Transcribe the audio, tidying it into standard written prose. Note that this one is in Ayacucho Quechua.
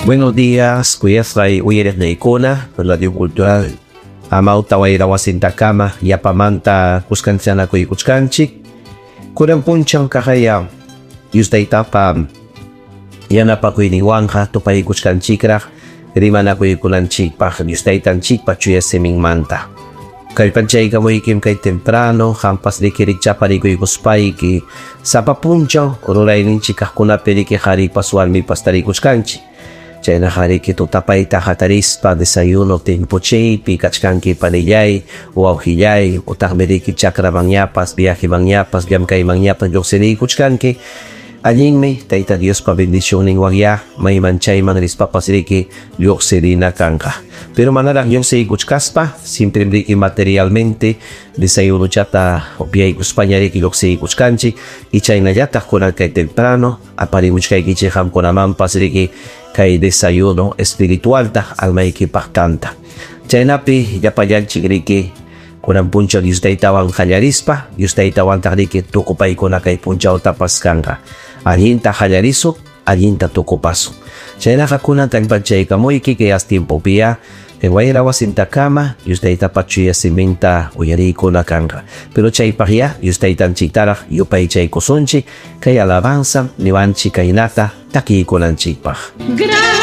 Buenos días, kuyasqay uyariqniykuna, Radio Cultural Amauta Wayra Wasintakama yapamanta kuskanchanakuykachkanchik. Kunan punchaw kaqaya Dios Taytapa yanapakuyninwanqa tupaykuchkanchikraq rimanakuykunanchikpaq Dios Taytanchikpa chuya siminmanta. Kallpanchaykamuykim kay temprano, qampas riki rikchaparikuykuspayki sapa punchaw rurayninchik kaqkunapi riki qharipas warmipas tarikuchkanchik. Chaynaqa riki tutapayta hatarispa desayuno timpuchaypi kachkanki panillay, wawqillay, utaqmi riki chakramanñapas, viajemanñapas, llamkaymanñapas lluqsiriykuchkanki. Allinmi Tayta Diospa bendicionninwanya mayman chayman rispapas riki lluqsirina kanqa. Pero manaraq lluqsiykuchkaspa, siempre riki materialmente desayunochata upyaykuspaña riki lluqsiykuchkanchik y chaynallataq kunan kay temprano aparimuchkaykichik qamkunamanpas riki kay desayuno espiritualta almaykipaq tanta. Chaynapi llapallanchik riki kunan punchaw Dios Taytawan qallarispa, Dios Taytawantaq riki tukupaykuna kay punchawtapas kanqa. Allinta qallarisun, allinta tukupasun. Chaynaqa kunan kallpanchaykamuyki kay as tiempopiya kay wayra wasintakama Dios Taytapa chuya siminta uyariykuna kanqa. Pero chaypaqya Dios Taytanchiktaraq yupaychaykusunchik kay alabanza niwanchik kaynata takiykunanchikpaq.